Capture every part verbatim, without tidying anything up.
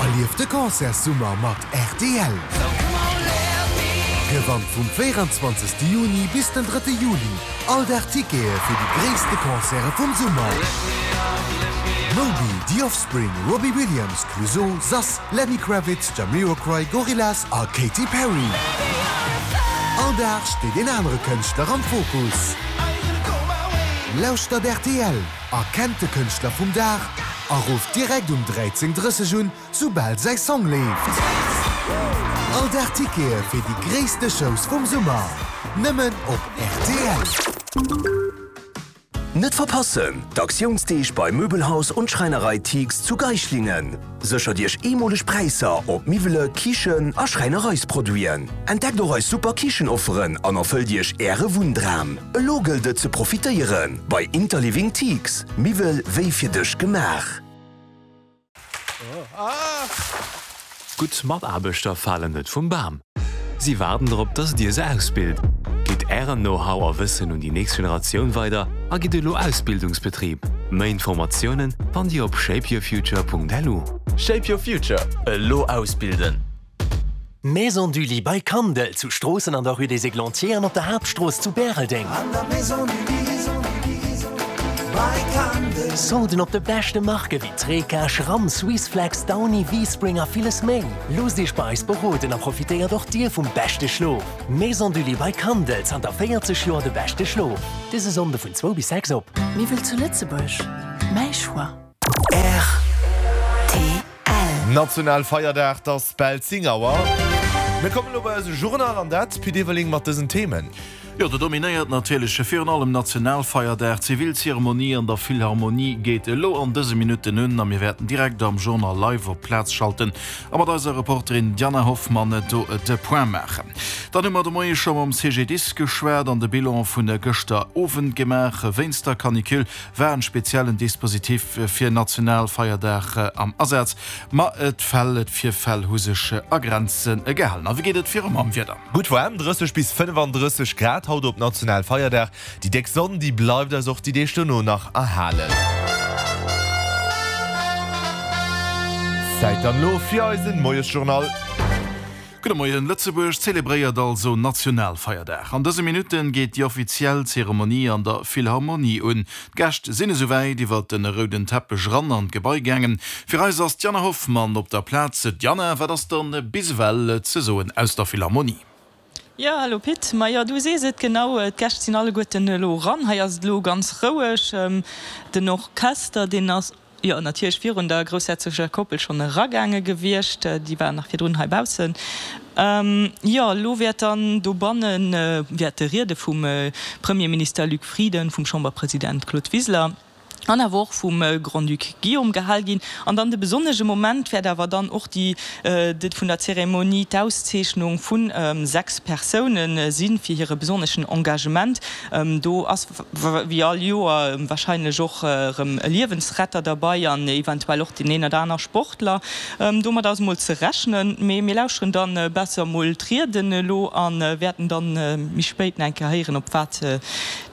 Erlieft de Concertssummer mat rtl! Gewannt vum véieranzwanzegste Juni bis den drëtte Juli all Dag Tickete fir déi gréisste Concerte vum Summer! Moby, The Offspring, Robbie Williams, Clouseau, Sass, Lenny Kravitz, Jamiroquai, Gorillaz a Katy Perry. All Dag steet een anere Kënschtler am Fokus. Lauschtert rtl, erkennt de Kënschtler vum Dag a rufft direkt um dräizéng drësseg un, soubal säi Song leeft. All Dag Tickete fir déi gréisste Shows vum Summer, nëmmen op rtl. Net verpassen, d'Aktiounsdeeg bei Möbelhaus und Schreinerei Tiegs zu Geislingen. Séchert Iech eemoleg Präisser op Miwwele, Kichen a Schräinereisproduiten. Entdeckt och eis super Kichenofferen an erfëllt Iech Äre Wunndram. Elo gëllt et ze profitéieren bei Interliving Tiegs. Miwwel wéi fir dech gemaach. Gutt Mataarbechter falen net vum Bam. Si waarden drop, dass Dir se ausbilt. Gitt Ären Know-how a Wëssen un déi nächst Generatioun weider a gitt elo Ausbildungsbetrib. Méi Informatiounen fannt Dir op shapeyourfuture punkt lu. Shape your future, elo ausbilden! Maison du Lit by Kandel zu Stroossen an der Rue des Églantiers an op der Haaptstrooss zu Bäreldeng. Solden op de beschte Marke wéi Treca, Schramm, Swissflex, Downy, V-Spring a villes méi. Loosst Iech bei eis beroden a profitéiert och Dir vum beschte Schlof. Maison du Lit by Kandel, zanter véierzeg Joer de beschte Schlof. Dëse Sonnde vun zwou bis sechs op. Miwwel zu Lëtzebuerg, mäi Choix. R T L. Nationalfeierdag, 't ass bal zéng Auer. Mir kommen elo bei eise Journal an dat, Pit Everling, mat dësen Themen. Jo, do dominéiert natierlech virun allem Nationalfeierdag. D'Zivilzeremonie an der Philharmonie geet elo an dëse Minutten un a mir wäerten direkt am Journal live op d'Plaz schalten a mat eiser Reporterin Diana Hoffmann do de Point maachen. Dann hu mer de Moie scho mam C G D I S geschwat an de Bilan vun gëschter Owend gemaach. Wéinst der Canicule war en speziellen Dispositif fir Nationalfeierdag am Asaz, ma d'Fäll, d'Virfäll hu sech a Grenze gehalen. A wéi geet et viru mam Wieder? Gutt waarm, drësseg bis fënnefandrësseg Grad haut op Nationalfeierdag. Déi déck Sonn, déi bleift eis och déi Deeg dono nach erhalen. Zäit dann elo fir eisen Moiesjournal. Gudde Moien. Lëtzebuerg zelebréiert also Nationalfeierdag. An dëse Minutten geet déi offiziell Zeremonie an der Philharmonie un. D'Gäscht sinn esouwäit iwwer de rouden Teppech ran an d'Gebai gaangen. Fir eis ass d'Diana Hoffmann op der Plaz. Diana, wat ass dann bis ewell ze soen aus der Philharmonie? Jo, hallo Pit. Ma jo, du sees et, genau, d'Gäscht sinn alleguerten elo ran. Hei ass et elo ganz roueg. Den Orchester, deen ass jo natierlech virun der groussherzogecher Koppel schonn eragaange gewiescht. Déi waren nach virdrun heibaussen. Jo, elo wäert dann dobanne wäerte Riede vum Premierminister Luc Frieden, vum Chamberpresident Claude Wiseler an awer och vum Grand-Duc Guillaume gehal ginn. An dann de besonnesche Moment wäert awer dann och déi vun der Zeremonie, d'Auszeechnung vu sechs Persoune sinn, fir hire besonneschen Engagement. Do ass wéi all Joer warscheinlech och erëm e Liewensretter derbei an eventuell och deen een oder aner Sportler. Domat ass mol ze rechnen. Mee mir lauschteren dann besser mol d'Rieden elo a wäerten dann méi spéit nach eng Kéier héieren, op wat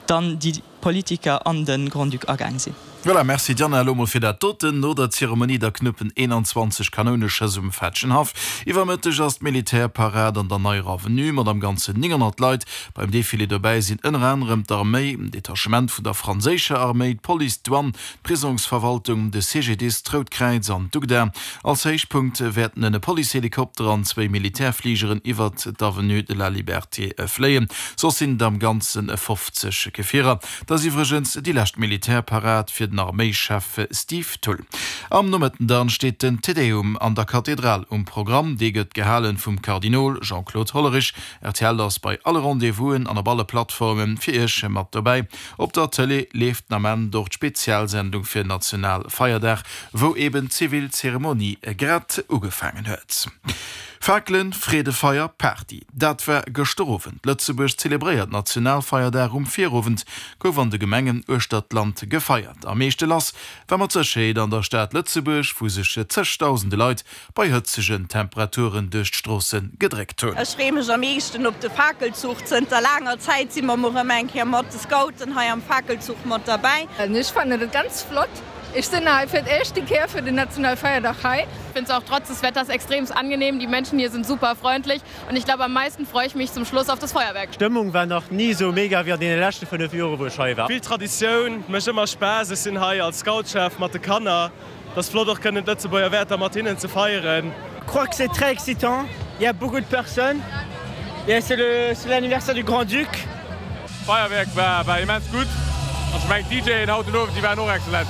dann déi Politiker an de Grand-Duc agaang sinn. Voilà, merci Diana, elo mol fir dat doten. No der Zeremonie da knuppen eenanzwanzeg Kanouneschëss um Fetschenhaff. Iwwer Mëtteg ass d'Militärparad an der Neier Avenue mat am Ganzen nénghonnert Leit. Beim Defilé dobäi sinn ënner anerem d'Arméi, en Detachement vun der franséischer Arméi, d'Police, d'Douane, d'Prisongsverwaltung, de C G D I S, d'Rout Kräiz an d'UGDA. Als Héichpunkt wäerten e Policehelikopter an zwéi Militärfligeren iwwert d'Avenue de la Liberté fléien. Soss sinn et am Ganze fofzeg Gefierer. Dat ass iwwregens déi lescht Militärparad fir den Arméischef Steve Thull. Am Nomëtten dann steet den Te Deum an der Kathedral um Programm. Dee gëtt gehalen vum Kardinol Jean-Claude Hollerich. R T L ass bei alle Rendez-vousen an op alle Plattforme fir Iech mat dobäi. Op der Tëlee leeft den Ament och d'Spezialsendung fir Nationalfeierdag, wou eben d'Zivilzeremonie grad ugefaangen huet. Fakelen, Freedefeier, Party. Dat war gëschter Owend. Lëtzebuerg zelebréiert Nationalfeierdag. Um Virowend gouf an de Gemengen uechter d'Land gefeiert. Am meeschte lass war mat Sécherheet an der Stad Lëtzebuerg, wou sech zegdausende Leit bei hëtzegen Temperaturen duerch d'Stroosse gedréckt hunn. Ech freeë mech am meeschten op de Fakelzuch. Zënter laanger Zäit si mer mol erëm eng Kéier mat de Scouten hei am Fakelzuch mat derbäi. Ech fannen et ganz flott. Ech sinn hei fir d'éischte Kéier fir den Nationalfeierdag hei. Ich finde es auch trotz des Wetters extremst angenehm. Die Menschen hier sind super freundlich und ich glaube am meisten freue ich mich zum Schluss auf das Feuerwerk. D'Stëmmung war nach ni sou mega wéi an deene leschte fënnef Jore wou ech hei war. Vill Traditioun, mécht ëmmer Spaass. Ech sinn hei als Scoutschef mat de Kanner. Et ass flott och kënnen d'Lëtzebuerger Wäerter mat hinnen ze feieren. Crois que c'est très excitant, il y a beaucoup de personnes et c'est le c'est l'anniversaire du Grand-Duc. D'Feierwerk war war immens gutt an ech mengen d'DJen haut den Owend déi waren och excellent.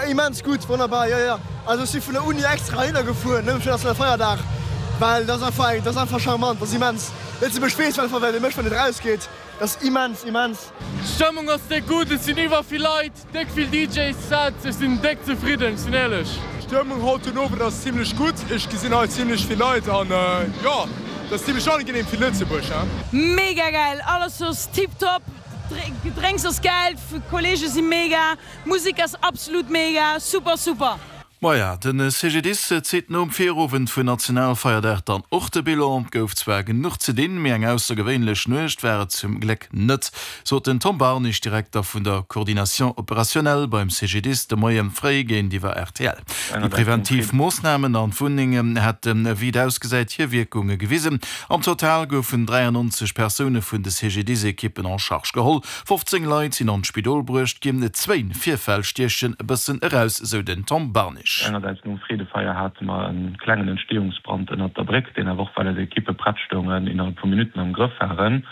Immens gutt, wonnerbar, jo jo. Also ech si vun der Uni extra heihinner gefuer, nëmme fir Nationalfeierdag, well dat ass einfach eng, dat ass einfach charmant, dat ass immens. Lëtzebuerg weess einfach wat ee mécht wann et erausgeet, dat ass immens, immens. D'Stëmmung ass déck gutt, et sinn iwwer vill Leit, déck vill D Js, Sets, ech sinn déck zefridden, ech sinn éierlech. D'Stëmmung haut den Owend ass zimlech gutt, ech gesinn hei zimlech vill Leit an jo, et ass zimlech angenehm fir Lëtzebuerg, he. Mega geil, alles ass tiptop, Gedrénks ass geil, Kollege si mega, Musek ass absolut mega, super super. Maja, de C G D I S zitt nom Virowend vun Nationalfeierdag dann och de Bilan. Et gouf zwar genuch ze dinn, mee eng aussergewéinlech Nuecht war et zum Gléck net, sot den Tom Barnig, Direkter vun der Coordination opérationnelle beim C G D I S de Moie fréi géintiwwer R T L. Déi preventiv Moossnamen an d'Wunnengen hätten, wéi et ausgesäit, hir Wierkunge gewisen. Am Total goufen dräiannonzeg Persoune vun de C G D I S-Ekippen en charge geholl, fofzéng Leit sinn an d'Spidol bruecht ginn. Zwéin Virfäll stiechen e bëssen eraus, sou den Tom Barnig. Engersäits nom Freedefeier hate mer e klengen Entstehungsbrand ënnert der Bréck, deen awer och, well eis Ekippe prett stoungen, innerhalb vu Minutten am Grëff waren.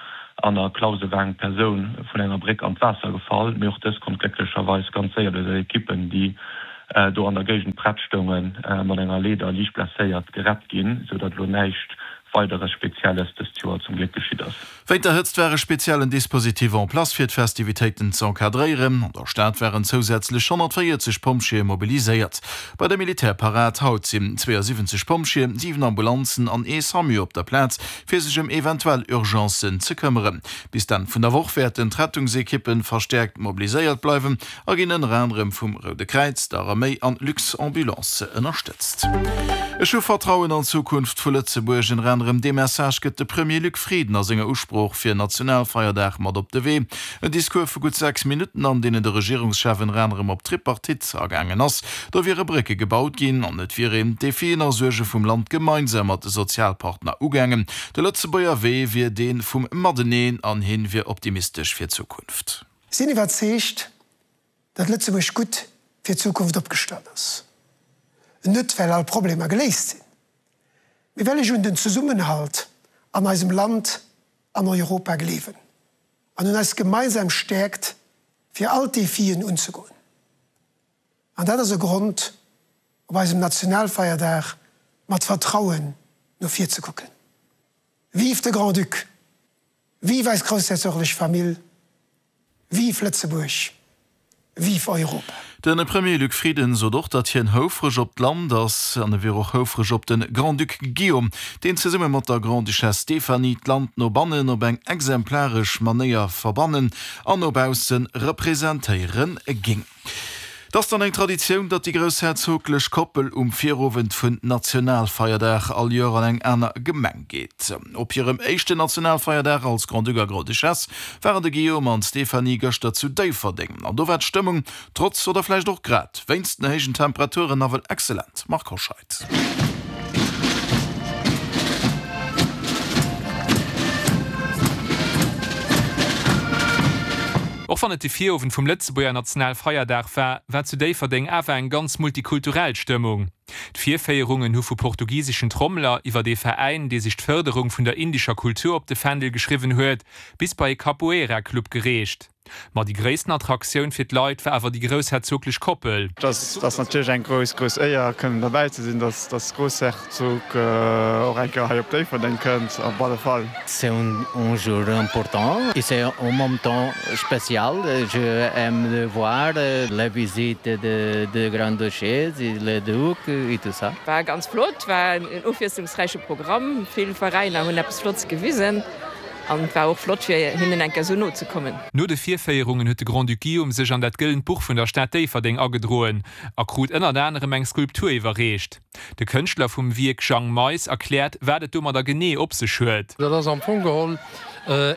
An a Clausen war eng Persoun vun enger Bréck an d'Waasser gefall, mee och dës konnt glécklecherweis ganz séier duerch eis Ekippen, déi do an der Géigend prett stoungen, mat enger Leeder liicht blesséiert gerett ginn, sou datt elo näischt Weideres Spezielles dëst Joer zum Gléck geschitt ass. Wéint der Hëtzt war e speziellen Dispositif en place fir d'Festivitéiten ze encadréieren. An der Stad waren zousätzlech honnertvéierzeg Pompjeeë mobiliséiert. Bei der Militärparad haut sinn zweeësiwwenzeg Pompjeeën, siwen Ambulanzen an ee SAMU op der Plaz, fir sech ëm eventuell Urgencen ze këmmeren. Bis d'Enn vun der Woch wäerten d'Rettungsekippe verstäerkt mobiliséiert bleiwen a ginn ënner anerem vum Roude Kräiz, der Arméi an Luxambulance ënnerstëtzt. Ech hu Vertrauen an d'Zukunft vu Lëtzebuerg. Ënner anerem dee Message gëtt de Premier Luc Frieden a senger Usprooch fir Nationalfeierdag mat op de Wee. En Discours vu gutt sechs Minutten, an deenen de Regierungschef ënner anerem op d'Tripartite agaangen ass. Do wiere Brécke gebaut ginn an et wier een d'Defien a Suerge vum Land gemeinsam mat de Sozialpartner ugaangen. De Lëtzebuerger Wee wier dee vum Mateneen an hien wier optimistesch fir d'Zukunft. Sinn iwwerzeegt, datt Lëtzebuerg gutt fir d'Zukunft opgestallt ass. Net well all Problemer geléist sinn, mee well ech un den Zesummenhalt an eisem Land an Europa gleewen an un eis gemeinsam Stäerkt fir all d'Defien unzegoen. An dat ass e Grond, op eisem Nationalfeierdag mat Vertrauen no vir ze kucken. Vive de Grand-Duc! Vive eis groussherzoglech Famill! Vive Lëtzebuerg! Vive Europa! De Premier Luc Frieden sot och, datt hien houfreg op d'Land ass an e wier och houfreg op de Grand-Duc Guillaume, deen zesumme mat der Grande-Duchesse Stéphanie d'Land no bannen op eng exemplaresch Manéier verbannen an no bausse representéiere géing. Et ass dann eng Traditioun, datt déi groussherzoglech Koppel um Virowend vun Nationalfeierdag all Joer an eng aner Gemeng geet. Op hirem éischten Nationalfeierdag als Grand-Duc a Grande-Duchesse waren de Guillaume an d'Stéphanie gëschter zu Déifferdeng. An do war d'Stëmmung, trotz oder vläicht och grad wéinst den héijen Temperaturen, nawell excellent. Marc Hoscheid. Och wann et de Virowend vum Lëtzebuerger Nationalfeierdag war, war zu Déifferdeng awer eng ganz multikulturell Stëmmung. D'Virféierungen hu vu portugiseschen Trommeler iwwer de Veräin, dee sech d'Fërderung vun der indescher Kultur op de Fändel geschriwwen huet, bis bei e Capoeira-Club gereecht. Ma déi gréissten Attraktioun fir d'Leit war awer déi groussherzoglech Koppel. Dat ass natierlech eng grouss, grouss Éier, kënnen derbäi ze sinn, dass dass Groussherzog och eng Kéier hei op Déifferdeng kënnt, op alle Fall. C'est un, un jour important et c'est en même temps spécial. Je aime voir la visite de, de Grande-Duchesse, le Duc et tout ça. War ganz flott, war en ofwiesslungsräiche Programm. Vill Veräiner hunn eppes Flottes gewisen. An et war och flott fir hinnen eng Kéier esou no ze kommen. No de Virféierungen huet de Grand-Duc Guillaume sech an dat gëllent Buch vun der Stad Déifferdeng agedroen a krut ënnert anerem eng Skulptur iwwerreecht. De Kënschtler vum Wierk Jang Mais erkläert, wat et domadder genee op sech huet. Dat ass am Fong geholl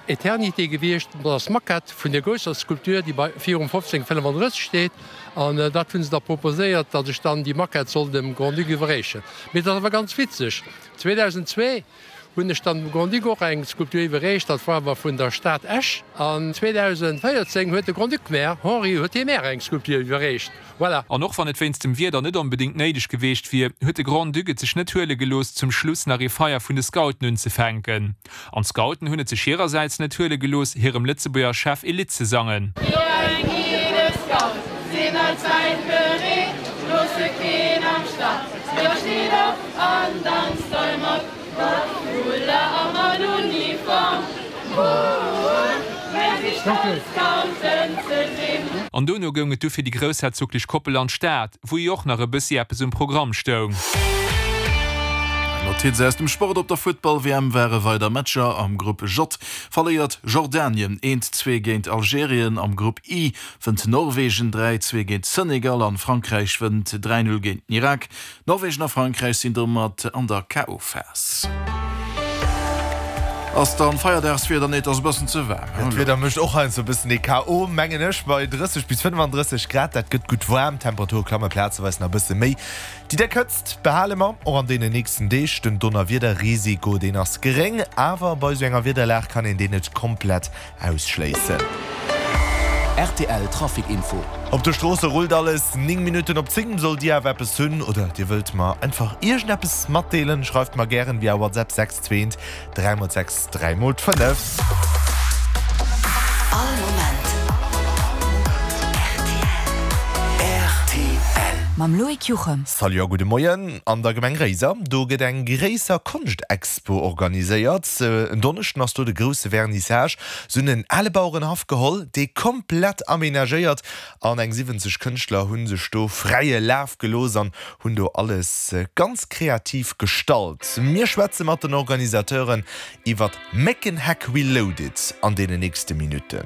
Eternité gewiescht. Dat ass d'Maquette vun der grousser Skulptur, déi bei virum fofzéng fënnefandrësseg steet. An dat hu se da proposéiert, datt ech dann déi Maquette soll dem Grand-Duc iwwerreechen. Mee dat ass awer ganz witzeg, zweedausendzwee hunn ech dann dem Grand-Duc och eng Skulptur iwwerreecht, dat war awer vun der Stad Esch. An zweedausendvéierzéng huet de Grand-Duc mär, Henri, huet hie mär eng Skulptur iwwerreecht. Voilà. An och wann et wéinst dem Wieder net onbedéngt néideg geweecht wier, huet de Grand-Duc et sech net huele gelooss, zum Schluss nach ee Feier vun de Scouten unzefänken. An d'Scouten hunn et sech hirersäits net huele gelooss, hirem Lëtzebuerger Chef ee Lidd ze sangen. Mir eng Gidde Scout sinn allzäit bereet, loosse keen am Stach. Jo steet op an danzt hei mat, mat Foulard a mat Uniform. Cool, mär si stolz Scouten ze sinn. An dono goung et du fir déi groussherzoglech Koppel an d'Stad, wou jo och nach e bëssi eppes um Programm stoung. Notiz aus dem Sport, Op der Futtball-W M ware weider Matcher. Am Grupp J verléiert Jordanien eent, zwee géint Algerien, am Grupp I wënnt Norwegen dräi, zwee géint Senegal an Frankräich wënnt dräi, null géint den Irak. Norwegen a Frankräich sinn domat an der K O Phas. Ass dann Feierdagswieder? Nee, et ass e bëssen ze waarm. Jo, d'Wieder mécht och heiansdo e bëssen ee K O mengen ech, bei drësseg bis fënnefandrësseg Grad. Dat gëtt gutt waarm, d'Temperature klamme plazeweis nach e bësse méi. Déi déck Hëtzt behale mer och an deenen nächsten Deeg. Den Donnerwiederrisiko, deen ass geréng, awer bei esou enger Wiederlag kann een deen net komplett ausschléissen. R T L Trafic Info. Op de Stroosse rullt alles. Néng Minutten op zéng. Sollt Dir awer eppes hunn oder Dir wëllt mer einfach iergendeppes matdeelen, schreift mer gären via WhatsApp sechs zwee eent dräi mol sechs dräi mol fënnef. All Moment R T L. Mam Loïc Juchem. Salut a gudde Moien. An der Gemeng Réiser, do gëtt eng gréisser Konschtexpo organiséiert. En Donneschden ass do de grousse Vernissage. Se hunn en ale Bauerenhaff geholl, dee komplett amenagéiert an eng siwwenzeg Kënschtler hu sech do fräie Laf gelooss an hunn do alles ganz kreativ gestalt. Mir schwätze mat den Organisateuren iwwert Méckenheck Reloaded an deenen nächste Minutten.